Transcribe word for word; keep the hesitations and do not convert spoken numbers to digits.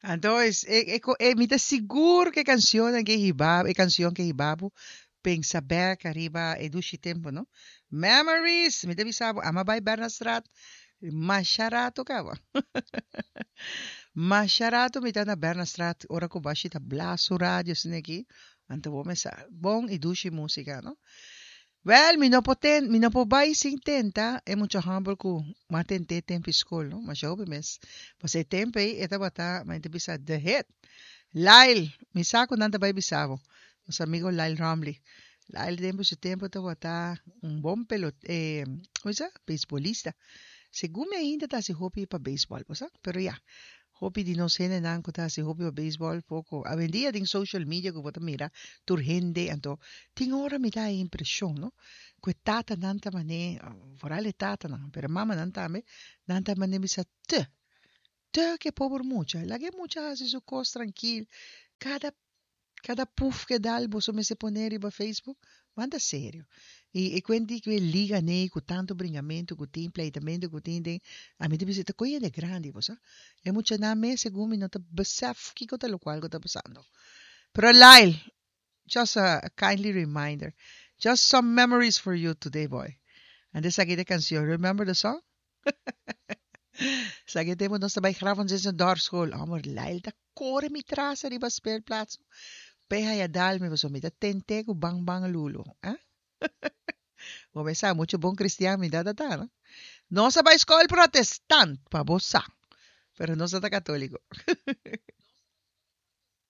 Anto, e, e, e, mi ta sigur ku e kanshon ku hiba, e kanshon ku hiba bo pensa bèk ariba e dushi tempu, no? Memories, mi ta bisa bo, ami a bai Bernardstraat, masha ratu kaba. Masha ratu mi ta na Bernardstraat, ora ku Bashi ta blas su radio asin'aki, anto bo mesa bon i dushi músika, no? Wel, mi no por ten, mi no por bai sin tenta e mucha hòmber ku m'a tent'é tempu skol, no? Masha hopi mes. Pasobra e tempu ei e tabata, mi ta bisa, the hit. Lyle, mi sa ku nan ta bai bisa bo. Nos amigo Lyle Romley. Lyle tempu su tempu tabata un bon pelot, eh, kon sa? Beisbolista. Segun mi ainda ta hasi hopi pa beisbòl, bo sa? Pero ya, hopi di nos hendenan ku ta hasi hopi pa beisbòl poko. Awendia den social media ku bo ta mira tur hende, anto tin ora mi ta haña impreshon, no? Ku e tatanan ta manera, foral e tatanan, pero mamanan tambe, nan ta manera bisa te, te ku e pober mucha. Laga e mucha hasi su kos trankil. Kada kada puf ku e dal boso mester pone riba Facebook. Manda serio. I e kuenti ku e liga nei ku tantu bringamentu ku tin, pleitamentu ku tin den, ami ta bisa ta koe hende grandi, bo sa. E muchanan mes segun mi no ta besef kiko ta lokual ku ta pasando. Pero Lyle, just a, a kindly reminder. Just some memories for you today, boy. And esaki ta e kanshon. Remember the song? Esaki tempu nos ta bai Graaf van Zin dorpsschool. Amor, Lyle ta kore mi tras riba speelplaats. P'e haya dal mi pasobra mi ta tent'é ku bang bang lulo. Eh? Bo sa, muchu bon kristian mi ta ta, no? Nos a bai skol protestant, pa bo sa. Pero nos ta katóliko.